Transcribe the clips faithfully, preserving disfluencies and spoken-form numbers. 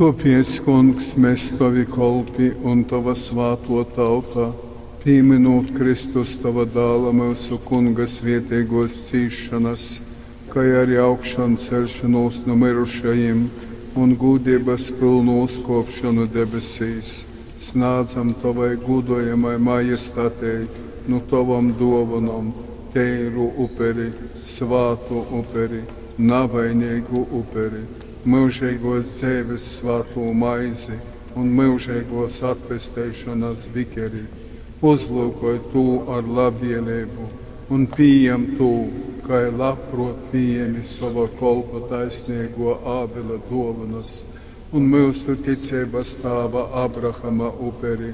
Tōpēc, Kungs, mes, tovi kolpi un tova svātō tauta, pīmynūt Kristus, tova Dāla, myusu Kunga svēteigōs cīsšonas, kai ari augšanceļšonūs nu myrušajim un gūdeibas pylnu uzkōpšonu debesīs, snādzam tovai gūdojamai Majestatei nu tovom dōvonom teiru uperi, svātu uperi, navaineigu uperi, myužeigōs dzeives svātū maizi un myužeigōs atpesteišonas bikeri. Uzlyukoj tū ar labvēleibu un pījam tū, kai labprōt pījemi sova kolpa taisneigō Ābela dōvonas un myusu ticeibas tāva Abrahama uperi,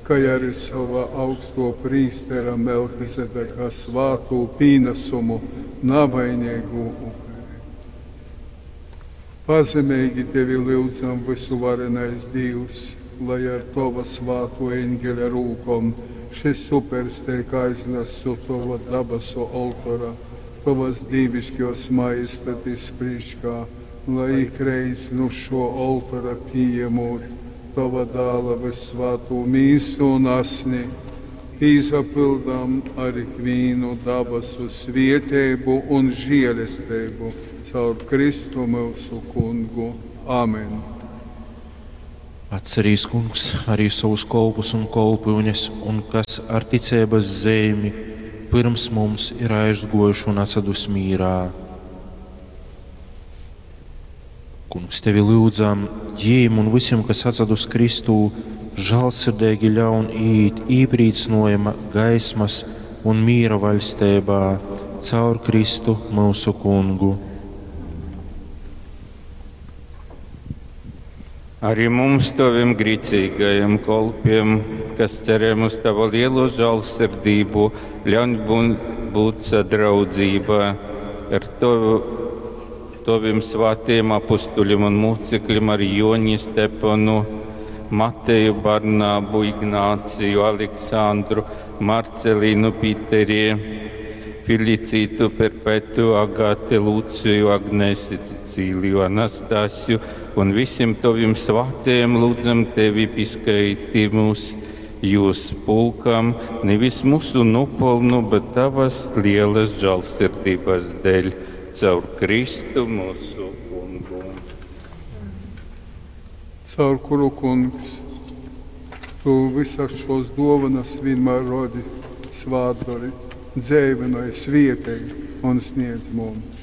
kai ari sova augstō prīstera Melchizedeka svātū pīnasumu, navaineigū uperi. Pazemeigi tevi lyudzam, vysuvarenais Dīvs, lai ar tova svātō eņgeļa rūkom šys upers teik aiznasts uz tova dabasu oltora, tovas dīviškōs Majestatis prīškā, lai ikreiz nu šō oltora pījemūt tova Dāla vyssvātū mīsu un asni, pīsapyldam ar ikvīnu dabasu svieteibu un žielesteibu caur Kristu myusu Kungu. Amen. Atcerīs, Kungs, arī savus kolpus un kolpyunes, un kas ar ticeibas zeimi pirms mums ir aizguojuši un atsadus mīrā. Kungs, tevi lyudzam, jīm un visiem, kas atsadus Kristū, žālsirdeigi ļaun iet īprīcinojuma gaismas un mīra vaļsteibā caur Kristu mūsu Kungu. Arī mums, taviem grīcīgajiem kolpiem, kas cerējam uz tava lielo žālsirdību, ļauj būt sadraudzībā ar tavu, taviem svētajiem apustuļiem un mūcekļiem, ar Joni Stepanu, Mateju, Barnābu, Ignāciju, Aleksandru, Marcelīnu, Pīteri, Felicītu, Perpetu, Agate, Lūciju, Agnesi, Cecīliju, Anastasiju un visiem taviem svētajiem lūdzam tevi pieskaiti mūs jūs pulkam, nevis mūsu nopelnu, bet tavas lielas žēlsirdības dēļ, caur Kristu mūsu Kungu. Caur kuru, Kungs, tu visas šos dovanas vienmēr rodi, svātdori, dzēvinoj, svietej un sniedz mums.